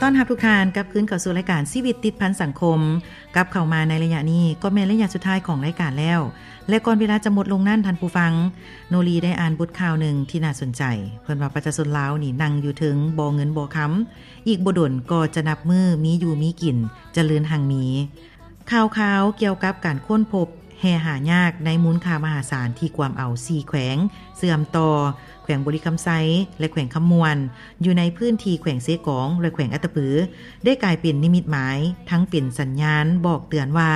ຕ້ອນຮັບທຸກທ່ານກັບຄືນເຂົ້າສູ່ລາຍການຊີວິດຕິດພັນສັງຄົມ. ກັບເຂົ້າມາໃນໄລຍະນີ້ກໍແມ່ນໄລຍະສຸດທ້າຍຂອງລາຍການແລ້ວ ແລະ ກ່ອນເວລາຈະໝົດລົງນັ້ນ, ທ່ານຜູ້ຟັງ, ໂນລີໄດ້ອ່ານບົດຂ່າວໜຶ່ງທີ່ໜ້າສົນໃຈ. ເພິ່ນວ່າປະຊາຊົນລາວນີ້ນັ່ງຢູ່ເທິງບໍ່ເງິນບໍ່ຄຳ, ອີກບໍ່ດົນກໍຈະນັບມື້ມີຢູ່ມີກິນ, ຈະເລີນຮັ່ງມີ. ຂ່າວຄາວກ່ຽວກັບການຄົ້ນພົບແຮ່ຫາຍາກໃນມູນຄ່າມະຫາສານທີ່ກວມເອົາສີ່ແຂວງເຊື່ອມຕໍ່, ແຂວງບໍລິຄຳໄຊ ແລະ ແຂວງຄຳມ່ວນ, ຢູ່ໃນພື້ນທີ່ແຂວງເຊກອງ ແລະ ແຂວງອັດຕະປື ໄດ້ກາຍເປັນນິມິດໝາຍ, ທັງເປັນສັນຍານບອກເຕືອນວ່າ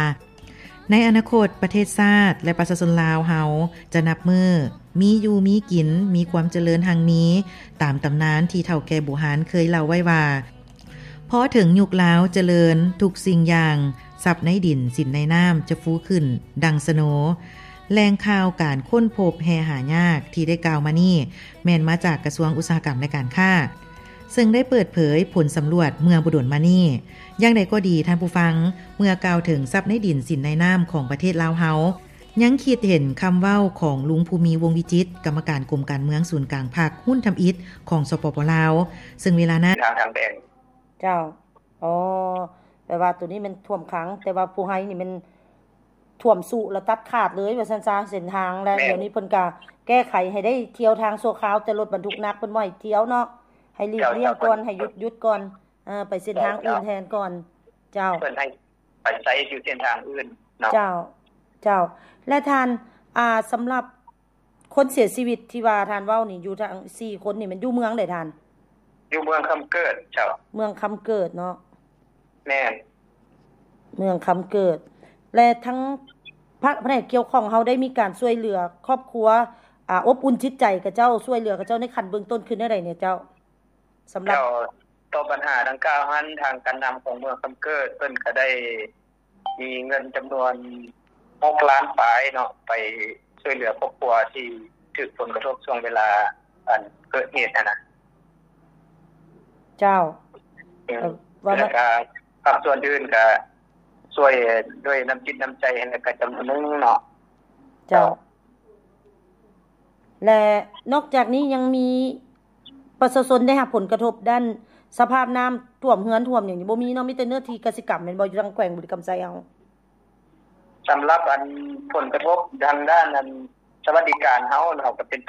ໃນອະນາຄົດປະເທດຊາດ ແລະ ປະຊາຊົນລາວເຮົາຈະນັບມື້ມີຢູ່ມີກິນ, ມີຄວາມຈະເລີນຮັ່ງມີ, ຕາມຕຳນານທີ່ເຖົ້າແກ່ບູຮານເຄີຍເລົ່າໄວ້ວ່າ ພໍເຖິງຍຸກລາວຈະເລີນທຸກສິ່ງຢ່າງ, ຊັບໃນດິນສິນໃນນ້ຳຈະຟູຂຶ້ນດັ່ງສະໂນ. ແຫຼ່ງຂ່າວການຄົ້ນພົບແຮ່ຫາຍາກທີ່ໄດ້ກ່າວມານີ້ ແມ່ນມາຈາກກະຊວງອຸດສາຫະກຳ ແລະ ການຄ້າ, ເຊິ່ງໄດ້ເປີດເຜີຍຜົນສຳຫຼວດເມື່ອບໍ່ດົນມານີ້. ຢ່າງໃດກໍດີ, ທ່ານຜູ້ຟັງ, ເມື່ອກ່າວເຖິງຊັບໃນດິນສິນໃນນ້ຳຂອງປະເທດລາວເຮົາ, ຍັງຄິດເຫັນຄຳເວົ້າຂອງລຸງ ພູມີ ວົງວິຈິດ, ກຳມະການກົມການເມືອງສູນກາງພັກຮຸ່ນທຳອິດຂອງ ສປປ ລາວ, ເຊິ່ງເວລານັ້ນ ເຈົ້າ. ອໍ ແປວ່າໂຕນີ້ແມ່ນຖ້ວມຂັງ, ແຕ່ວ່າພູໄຮນີ້ແມ່ນຖ້ວມຊຸແລ້ວຕັດຂາດເລີຍວ່າຊັ້ນຊະ ເສັ້ນທາງ. ແລ້ວດຽວນີ້ເພິ່ນກະແກ້ໄຂໃຫ້ໄດ້ທ່ຽວທາງຊົ່ວຄາວ, ແຕ່ລົດບັນທຸກໜັກເພິ່ນບໍ່ໃຫ້ທ່ຽວເນາະ, ໃຫ້ຫຼີກລ້ຽງກ່ອນ, ໃຫ້ຢຸດ, ຢຸດກ່ອນ, ເອີ, ໄປເສັ້ນທາງອື່ນແທນກ່ອນ. ເຈົ້າ. ເພິ່ນໃຫ້ໄປໃຊ້ຢູ່ເສັ້ນທາງອື່ນເນາະ. ເຈົ້າ, ເຈົ້າ. ແລະທ່ານ, ອ່າ, ສຳລັບ ຄົນເສຍຊີວິດທີ່ວ່າທ່ານເວົ້ານີ້ ຢູ່ທັງສີ່ຄົນນີ້ ແມ່ນຢູ່ເມືອງໃດທ່ານ? ຢູ່ເມືອງຄຳເກີດເຈົ້າ. ເມືອງຄຳເກີດເນາະ. ແມ່ນ. ເມືອງຄຳເກີດ ແລະທັງພະ ພະແນກກ່ຽວຂ້ອງເຮົາໄດ້ມີການຊ່ວຍເຫຼືອຄອບຄົວ ອາ ອົບອຸ່ນຈິດໃຈຂະເຈົ້າ ຊ່ວຍເຫຼືອຂະເຈົ້າໃນຂັ້ນເບື້ອງຕົ້ນຄືແນວໃດແດ່ເຈົ້າ? ສຳລັບ ເຈົ້າ ຕໍ່ບັນຫາດັ່ງກ່າວຫັ້ນ ທາງການນຳຂອງເມືອງຄຳເກີດ ເພິ່ນກະໄດ້ ມີເງິນຈຳນວນຫົກລ້ານປາຍເນາະ ໄປຊ່ວຍເຫຼືອຄອບຄົວທີ່ຖືກຜົນກະທົບຊ່ວງເວລາອັນເກີດເຫດຫັ້ນນະ. ເຈົ້າ. ອືມ ແລ້ວກະພາກສ່ວນອື່ນກະຊ່ວຍດ້ວຍນ້ຳຈິດນ້ຳໃຈຫັ້ນແຫຼະ ກະຈຳນວນໜຶ່ງເນາະ. ເຈົ້າ. ເຈົ້າ. ແລະນອກຈາກນີ້ຍັງມີປະຊາຊົນໄດ້ຮັບຜົນກະທົບດ້ານສະພາບນ້ຳຖ້ວມເຮືອນຖ້ວມຫຍັງນີ້ບໍ່ມີເນາະ ມີແຕ່ເນື້ອທີ່ກະສິກຳແມ່ນບໍ່ ຢູ່ທາງແຂວງບໍລິຄຳໄຊເຮົາ? ສຳລັບອັນຜົນກະທົບທາງດ້ານອັນສະຫວັດດີການເຮົາເນາະ ກະເປັນ